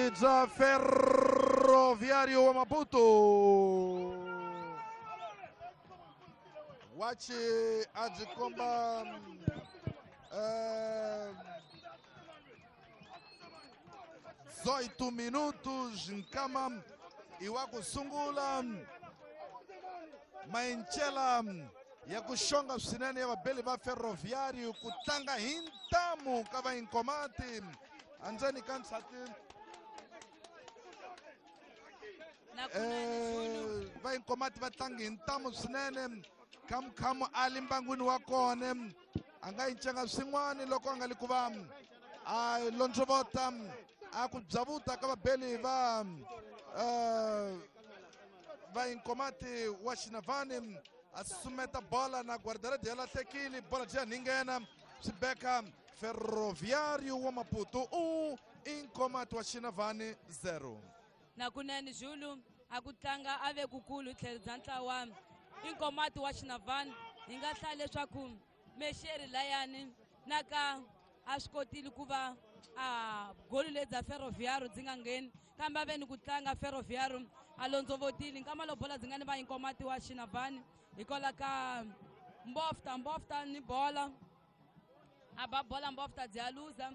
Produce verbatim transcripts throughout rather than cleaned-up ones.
Inkomati bya Ferroviário wa Maputo. Wachi a byi komba eh, dezoito minutos nkama i wa ku sungula maenchela ya ku xonga swinene ya vabeli va Ferroviário ku tlanga hi ntamu ka va Inkomati andzeni ka nsati eh, va Inkomati va tlangi hi ntamu swinene. Khamukhamu a li mbangwini wa kona a nga yi ncenga swin'wana loko a nga li ku va a londzovota a ku byavuta ka vabeli va eh, va Inkomati wa Xinavani a susumeta bola na guardarede ya lahlekile bola byi ya ninghena swi beka Ferroviário wa Maputo u Inkomati wa Xinavani zero. Na kunene Zulu a ku tlanga a ve kukulu hi tlhelo bya ntlawa Inkomati wa Xinavani. Hi nga hlaya leswaku Mexeri layani na ka a swi kotile ku va a goli lebyi bya Ferroviário byi nga ngheni kambe a ve ni ku tlanga Ferroviário a londzovotile nkama lo bola byi nga ni va Inkomati wa Xinavani hikwalaho ka Mbofta Mbofta ni bola a ba bola Mbofta byi ya luza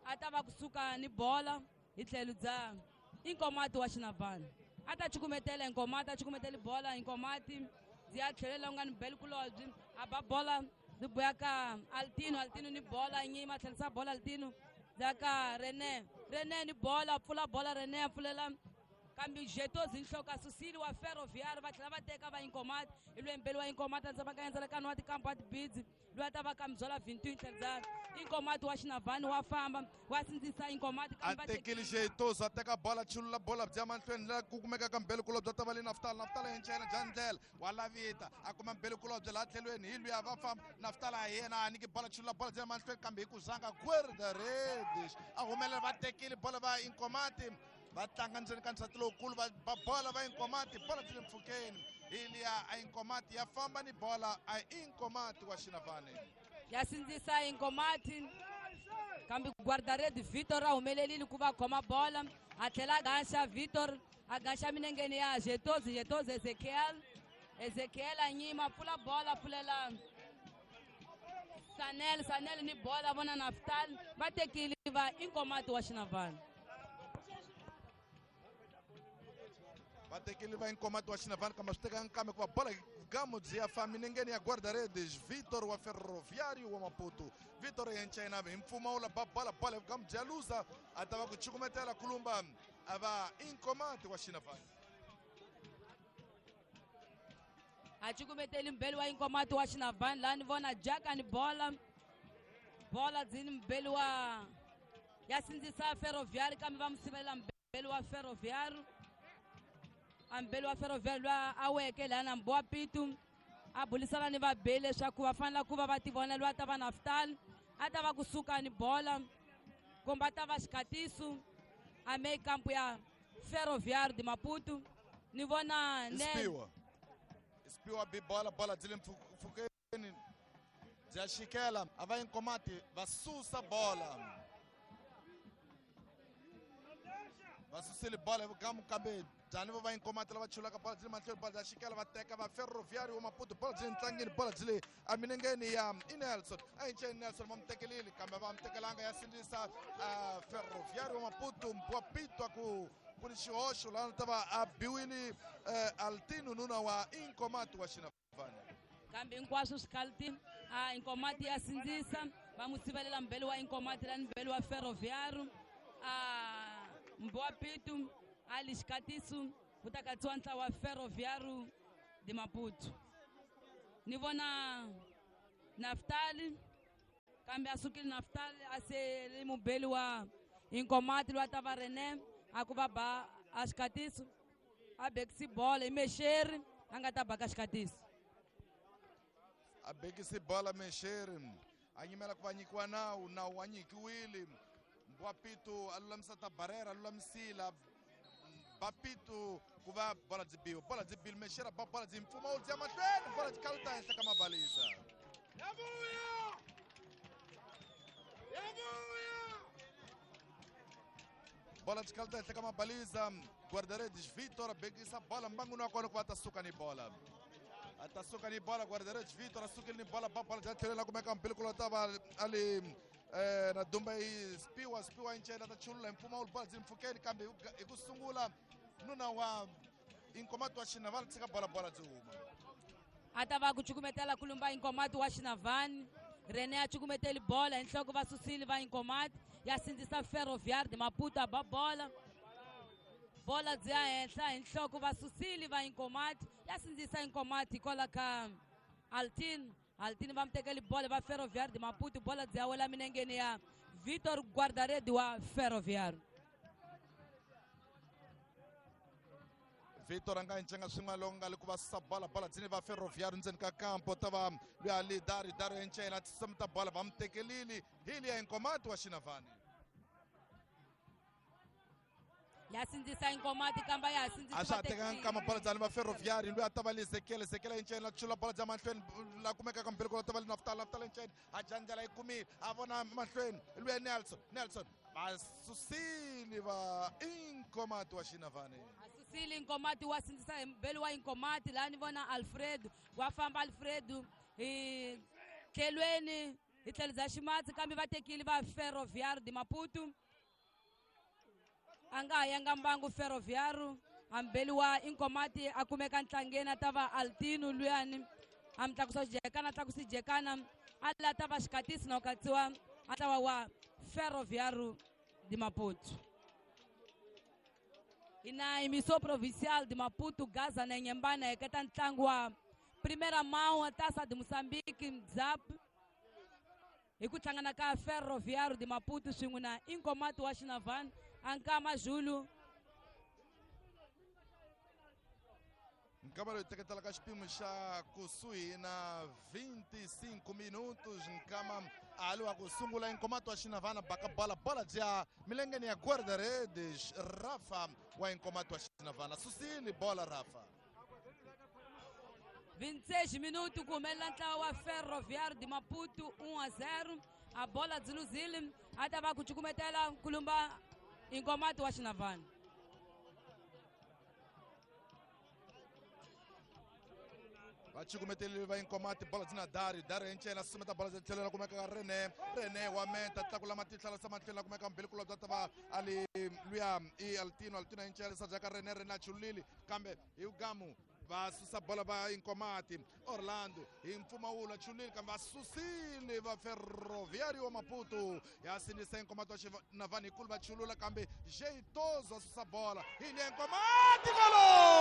a ta va kusuka ni bola hi tlhelo bya Inkomati wa Xinavani a ta cukumetela Inkomati a cukumetela bola Inkomati byi ya tlhelela u nga ni beli kulobyi a ba bola byi buya ka Altino Altino ni bola nyima tlhelisa bola Altino byi ya ka René René ni bola pfula bola René a pfulela kambe Jetozi nhloko a susile wa Ferroviário va tlhela va teka va Inkomati hi lweyi mbeli wa Inkomati a ndzi va ka endzela wa tikampa wa tibidzi loyi a ta va ka mbyala vintu tlhelo bya Inkomati wa Xinavani wa famba wa sindzisa Inkomati a tekile Jetozi a teka bola chulula bola bya mahlweni la ku kumeka ka mbeli kulobye ta va le Naftali Naftali hi nchena bya ndlela wa lavita a kuma mbeli kulobye laha tlhelweni hi luya va famba Naftali a yena a nyiki bola chulula bola bya mahlweni kambe hi ku zanga guarda-redes a humelela va tekile bola va Inkomati va tlanga ndzeni ka nsati lowukulu va ba bola va Inkomati bola byi le mpfhukeni hi liya a Inkomati ya famba ni bola a Inkomati wa Xinavani ya sindzisa Inkomati kambe guarda-rede Vitor a humelelile ku va khoma bola a tlhela a gaxa Vitor a gaxa minengeni ya Jetozi Jetozi Ezekiel Ezekiel a nyima pfula bola pfulela Sanel Sanel ni bola vona Naftali va tekile va Inkomati wa Xinavani va tekile va Inkomati wa Xinavani kambe swi tekanga kambe ku va bola gamu byi ya fa minengeni ya guarda-redes Vitor wa Ferroviário wa Maputo Vitor yenchena hi mpfumawulo ba bola bola gamu byi ya luza a ta va ku cukumetela kulumba a va Inkomati wa Xinavani a cukumeteli mbeli wa Inkomati wa Xinavani laha ni vona Jaka ni bola bola byi ni mbeli wa ya sindzisa Ferroviário kambe va mu sivelela mbeli wa Ferroviário a mbeli wa Ferroviário loyi a weke laha na Mbowa Pitu a bulisana ni vabeli leswaku va fanele ku va va tivona loyi a ta va Naftali a ta va kusuka ni bola kumbe a ta va xikatiso a me kampu ya Ferroviário de Maputo ni vona Isipiwa Isipiwa bi bola bola byi le mpfhukeni bya xikela a va Inkomati va susa bola va susile bola hi vugamu kambe byani va va Inkomati lava chulaka bola byi le mahlweni bola bya xikela va teka va Ferroviário wa Maputo bola byi le ntlangeni bola byi le eminengeni ya Nelson a yinceni Nelson va mu tekelile kambe va mu tekelanga ya sindzisa Ferroviário wa Maputo Mbowa Pitu a ku ku ni xihoxo laha ta va a biwile Altino nuna wa Inkomati wa Xinavani kambe hinkwaswo swi a Inkomati ya sindzisa va mu sivelela mbeli wa Inkomati lani mbeli wa Ferroviário a Mbowa Pitu a li xikatiso ku ta katsiwa ntlawa wa Ferroviário de Maputo ni vona Naftali kambe a sukile Naftali a se li mubeli wa Inkomati loyi a ta va René a ku va ba a xikatiso a bekisi bola i Mexeri a nga ta baka xikatiso a bekisi bola Mexeri a nyimela ku va nyikiwa nawu nawu wa nyikiwile Mbowa Pitu a lulamisa ta barrera a lulamisile ba Pitu ku va bola byi biwa bola byi bile Mexeri ba bola byi mpfumawulo byi ya mahlweni bola byi kaluta henhla ka mabalisa Bola xikalata henhla ka mabaliza guarda-redes Vitor bekisa bola mbanguni wa kona ku va ta suka ni bola. A ta suka ni bola guarda-redes Vitor a sukile ni bola ba bola bya tlhelela kumeka mbilikulu ta va ali eh na dumba yi spiwa spiwa incela ta chulula mpfumawulo bola byi mpfukeni kambe hi ku sungula nuna wa Inkomati wa Xinavani tshika bola bola byi huma. A ta va ku cukumetela kulumba Inkomati wa Xinavani. Rene a cukumeteli bola hi nhloko va susile va Inkomati ya sindzisa Ferroviário de Maputo a ba bola. Bola byi ya henhla hi nhloko va susile va Inkomati ya sindzisa Inkomati hikwalaho ka Altino. Altino va mi tekeli bola va Ferroviário de Maputo, bola byi ya wela minengeni ya Vitor Guarda-redes wa Ferroviário. Vitor a nga ncenga swin'wana loko nga le ku va susa bola bola dzini va Ferroviário ndzeni ka kampo ta va loyi a li Dari Dari encela tisumeta bola va mi tekelile hi liya Inkomati wa Xinavani. Ya sindzisa Inkomati kamba ya sindzisa a swa ha tekanga nkama bola dzani va Ferroviário loyi a ta va li Ezekiel Ezekiel encela chula bola bya mahlweni la kumekaka mbilikulu ta va li Naftali Naftali encela a dya ndlela yi kumile a vona mahlweni luya Nelson Nelson va susile va Inkomati wa Xinavani. Susile Inkomati wa sindzisa hi mbeli wa Inkomati laha ni vona Alfredo wa famba Alfredo hi tlhelweni hi tlhelo bya ximatsi kambe va tekile va Ferroviário de Maputo. A nga ha yanga mbangu Ferroviário ambeli wa Inkomati a kumeka ntlangeni a ta va Altino luyani a mi tlakusa xijekana a tlakusa xijekana a la ta va xikatisi na ku katsiwa a ntlawa wa Ferroviário de Maputo. Ina emissão provincial de Maputo, Gaza na Inhambane, heketa ntlangu wa primeira mão Taça de Moçambique Zap hi ku hlangana ka Ferroviário de Maputo swin'we na Inkomati wa Xinavani Ankama Zulu. Nkama loyi teketelaka xipimo xa kusuhi na vinte e cinco minutos nkama ali wa ku sungula Inkomati wa Xinavana baka bola bola bya milengeni ya guarda-redes Rafa wa Inkomati wa Xinavana susile bola Rafa. vinte e seis minutos ku humelela ntlawa wa Ferroviário de Maputo um a zero. A bola byi luzile a ta va ku cukumetela kulumba Inkomati wa Xinavana. Va cukumetelile va Inkomati bola dzina Dari Dari encela sumeta bola bya tlhelo la kumeka ka Rene Rene wa meta tlakula matihlo la matlhelo la kumeka mbilikulu bya ta va ali luya i Altino Altino encela sa ka Rene Rene a chulile kambe hi gamu va susa bola va Inkomati Orlando hi mpfumawulo a chulile kambe va susile va Ferroviário wa Maputo ya sindzisa Inkomati wa Xinavani hikulu va chulula kambe Jeitoso a susa bola hi liya Inkomati golo.